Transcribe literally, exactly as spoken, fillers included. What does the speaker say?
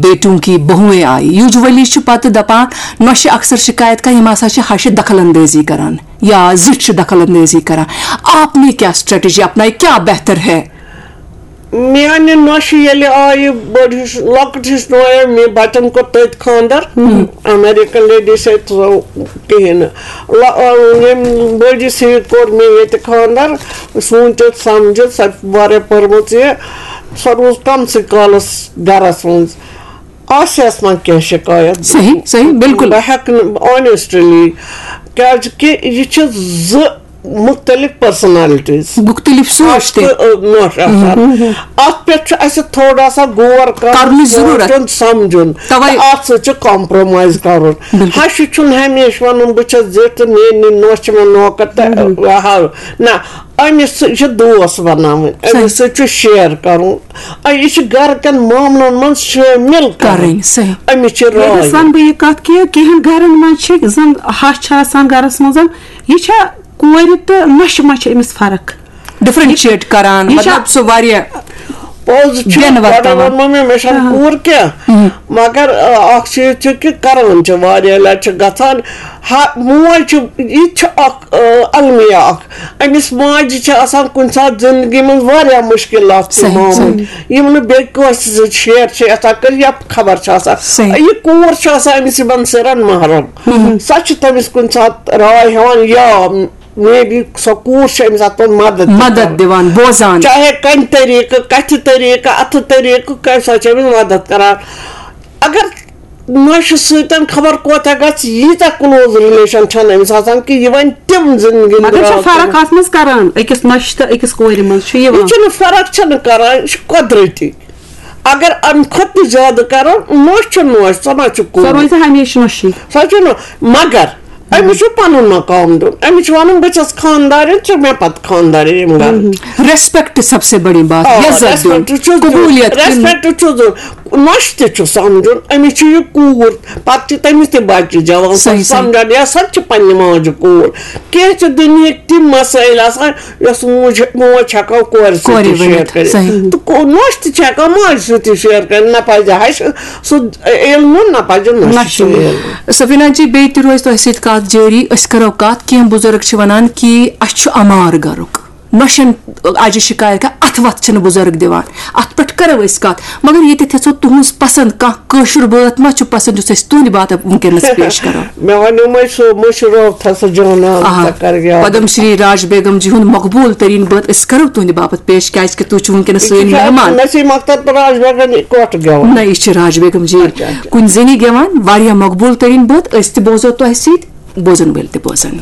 بیٹیوں کی بہویں آئی۔ یوجولی چھُ پتہٕ دپان، نۄشہِ اکثر شکایت کران، یِم ہسا چھِ ہشہِ دخل اندٲزی کران یا زِٹھۍ چھِ دخل اندٲزی کران۔ آپ نے کیا اسٹریٹجی اپنائی، کیا بہتر ہے؟ میانہِ نۄشہِ ییٚلہِ آیہِ بٔڑ ہِش، لۄکٕٹ ہِش نۄش، مےٚ بچن کوٚر تٔتۍ خانٛدر۔ امریکن لیڈی سۭتۍ سۄ کِہیٖنۍ نہٕ۔ لۄ-، ییٚمہِ بٔڑِس ہِوِ کوٚر مےٚ ییٚتہِ خانٛدر۔ سوٗنٛچِتھ سمجھِتھ، سۄ واریاہ پٔرمٕژ یہِ۔ سۄ روٗز کمسٕے کالس گرس منٛز۔ آسہِ ہس ما کینٛہہ شکایت؟ صحیح، صحیح، بالکل۔ بہٕ ہٮ۪کہٕ نہٕ آنیسٹلی، کیازِ کہِ یہِ چھِ زٕ مختلف پرسنالٹیز۔ مختلف سوچ تہِ۔ نۄش آسان۔ اتھ پٮ۪ٹھ چھُ اسہِ تھوڑا سا غور کرُن، کرنٕچ ضروٗرت۔ سونٛچُن، سمجھُن۔ توے۔ تہٕ اتھ سۭتۍ چھُ کمپرومایز کرُن۔ بالکل۔ ہشہِ چھُنہٕ ہمیشہِ ونُن، بہٕ چھس زِٹھ تہٕ میٲنۍ نۄش چھِ مےٚ نوکر تہٕ ہاو۔ نہ، أمِس سۭتۍ چھِ دوس بناوٕنۍ، أمِس سۭتۍ چھُ شیئر کرُن۔ آ، یہِ چھُ گرٕ کٮ۪ن معاملن منٛز شٲمِل کرٕنۍ۔ کرٕنۍ، صحیح۔ أمِس چھِ ییٚتہِ راے۔ سن بہٕ یہِ کتھ کہِ کینٛہن گرن منٛز چھِ زن ہش چھِ آسان گرس منٛز، یہِ چھا کورِ تہٕ نۄشہِ منٛز چھِ أمِس فرق؟ ڈفرینشیٹ کران، یہِ چھا- مطلب سُہ واریاہ۔ پوٚز چھُ، بٮ۪ن گۄڈے ورتاوان۔ ووٚنمو مےٚ، مےٚ چھَنہٕ کوٗر کینٛہہ، مگر آ، اکھ چیٖز چھُ کہِ کران چھِ، واریاہ لٹہِ چھِ گژھان، ہا، موج چھِ، یہِ تہِ چھُ اکھ آ، المیہ اکھ۔ أمِس ماجہِ چھِ آسان کُنہِ ساتہٕ زندگی منٛز واریاہ مشکلات تہِ صحیح، معموٗل، صحیح۔ یِم نہٕ بیٚیہِ کٲنٛسہِ سۭتۍ شیئر چھِ یژھان کٔرِتھ یا خبر چھِ آسان۔ صحیح۔ یہِ کوٗر چھِ آسان أمِس یِمن سِرن محرم، سۄ چھِ تٔمِس کُنہِ ساتہٕ راے ہٮ۪وان یا مے بی سۄ کوٗر چھِ أمِس اتھ منٛز مدد تہِ مدد کران۔ دِوان، بوزان۔ چاہے کنہِ طریقہٕ، کتھِ طریقہٕ، اتھٕ طریقہٕ، کتہِ سۄ چھِ أمِس مدد کران۔ اگر نۄشہِ سۭتۍ خبر کوتاہ گژھِ، ییٖژاہ کلوز ریلیشن چھنہٕ أمِس آسان کہِ یہِ ونہِ تِم زندگی مگر چھا راز فرق تِم۔ اتھ منٛز کران أکِس نۄشہِ تہٕ أکِس کورِ منٛز چھُ یِوان؟ یہِ چھُنہٕ فرق چھنہٕ کران، یہِ چھُ قۄدرٔتی۔ اگر امہِ کھۄتہٕ تہِ زیادٕ کرو، نۄش چھِ نۄش، سۄ ما چھِ سۄ کوٗر؟ روزِ ہمیشہِ نۄشی۔ سۄ چھِ نۄ-، مگر أمِس چھُ پنُن مقام دیُن، أمِس چھُ ونُن، بہٕ چھَس خاندارِنۍ، ژٕ چھُکھ مےٚ پتہٕ خاندارِنۍ ییٚمہِ گرٕ۔ ریسپیکٹ سب سے بڑی بات، آ، عزت دیُن، ریسپیکٹ چھُ دیُن، قبولیت دِنۍ۔ ریسپیکٹ چھُ دیُن۔ نۄشہِ تہِ چھُ سمجھُن، أمِس چھُ یہِ کوٗر، پتہٕ چھِ تٔمِس تہِ بچہِ جوان، سۄ صحیح، چھِ صحیح۔ سمجھان، یا سۄ تہِ چھِ پننہِ ماجہِ کوٗر۔ کینٛہہ چھِ دُنیہٕکۍ تِم مسٲیل آسان، یۄس موج، موج چھِ ہٮ۪کان کورِ سۭتۍ کورِ تہِ شیئر ؤنِتھ، کٔرِتھ۔ صحیح۔ تہٕ کو-، نۄش تہِ چھِ ہٮ۪کان ماجہِ سۭتۍ تہِ شیئر کٔرِتھ، نہ پزِ ہشہِ سُہ علم، نہ پزِ نۄشہِ سُہ علم۔ سفینا جی، بیٚیہِ تہِ روزِ تۄہہِ سۭتۍ کتھ جٲری۔ أسۍ کرو کتھ، کینٛہہ بُزرگ چھِ ونان کہِ اسہِ چھُ عمار گرُک، نۄشن اجہِ شکایت کران، اتھ وتھ چھِنہٕ بُزرگ دِوان۔ اتھ پٮ۪ٹھ کرو أسۍ کتھ، مگر ییٚتٮ۪تھ یژھو تُہنٛز پسند، کانٛہہ کٲشُر بٲتھ ما چھُ پسند یُس أسۍ تُہنٛدِ باپتھ وٕنکیٚنس پیش کرو؟ مےٚ وَنیو مےٚ سُہ مٔشرٲوتھا سُہ جانان، آ، ژےٚ کر یاد۔ پدم شری راج بیگم جی ہُنٛد مقبول ترین بٲتھ أسۍ کرو تُہنٛدِ باپتھ پیش، کیازِ کہِ تُہۍ چھِو وٕنکیٚنس سٲنۍ مہمان۔ نسیم اختر تہٕ راج بیگم اِکوٹہٕ گٮ۪وان۔ نہ، یہِ چھِ راج بیگم جی اچھا، اچھا۔ کُنہِ زٔنی گٮ۪وان، واریاہ مقبول ترین بٲتھ، أسۍ تہِ بوزو تۄہہِ سۭتۍ، بوزن وٲلۍ تہِ بوزن۔